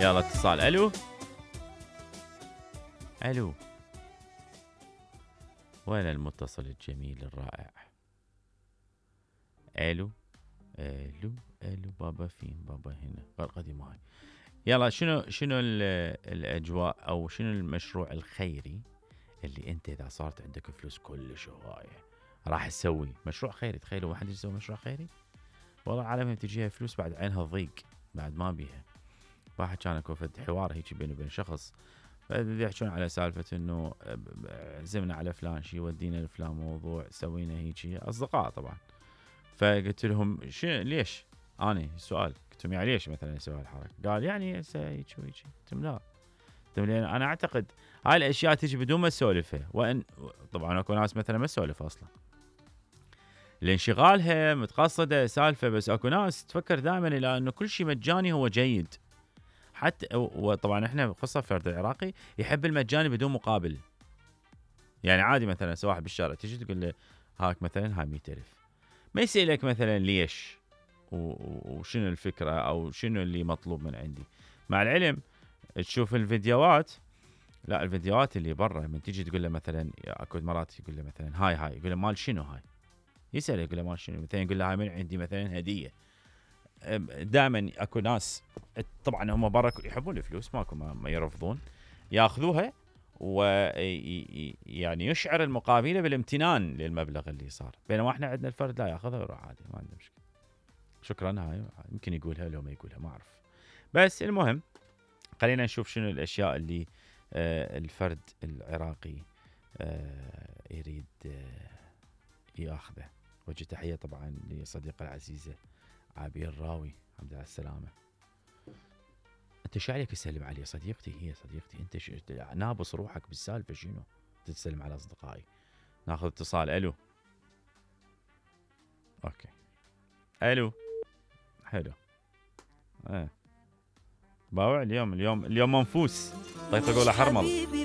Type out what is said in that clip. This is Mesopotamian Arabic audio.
يلا اتصال. الو الو، وين المتصل الجميل الرائع؟ الو الو الو، بابا فين؟ بابا هنا القديمة هاي. يلا شنو الاجواء او شنو المشروع الخيري اللي انت اذا صارت عندك فلوس كلش هوايه راح تسوي مشروع خيري؟ تخيلوا واحد يسوي مشروع خيري، والله العالم تجيها فلوس بعد عينها ضيق، بعد ما بيها. واحد كان اكو فد حوار هيك بينه وبين شخص، يحجون على سالفه انه عزمنا على فلان شي، ودينا لفلان موضوع، سوينا هيك، اصدقاء طبعا. فقلت لهم ليش؟ انا سؤال قلت لهم يعني ليش مثلا يسوي هالحركه؟ قال يعني هيك وهيك. قلت لهم لا، لان انا اعتقد هاي الاشياء تجي بدون ما اسولفها، وان طبعا اكو ناس مثلا ما تسولف اصلا لانشغالها متقصده سالفه، بس اكو ناس تفكر دائما الى انه كل شيء مجاني هو جيد. حتى وطبعا احنا خاصه الفرد العراقي يحب المجاني بدون مقابل. يعني عادي مثلا واحد بالشارع تجي تقول له هاك مثلا هاي 100,000، ما يسألك مثلا ليش وشنو الفكره او شنو اللي مطلوب من عندي. مع العلم تشوف الفيديوهات، لا الفيديوهات اللي برا من تيجي تقول له مثلا اكو مرات يقول له مثلا هاي يقول له مال شنو هاي؟ يسأل يقول له مال شنو؟ مثلا يقول له هاي من عندي مثلا هديه. دائما اكو ناس طبعا هم برا يحبون الفلوس، ماكو ما يرفضون، ياخذوها ويعني يشعر المقابله بالامتنان للمبلغ اللي صار، بينما احنا عندنا الفرد لا ياخذها ويروح عادي ما عنده مشكله. شكرا، هاي يمكن يقولها لو ما يقولها ما اعرف. بس المهم خلينا نشوف شنو الاشياء اللي الفرد العراقي يريد ياخذه. وجه تحيه طبعا لصديقه العزيزه عابير راوي، الحمد لله على السلامه. انت شو عليك تسلم علي؟ صديقتي، هي صديقتي. انت نابص روحك بالسالفه شنو تتسلم على اصدقائي؟ ناخذ اتصال. الو اوكي الو حلو. باوع اليوم منفوس، طيب اقول حرمل.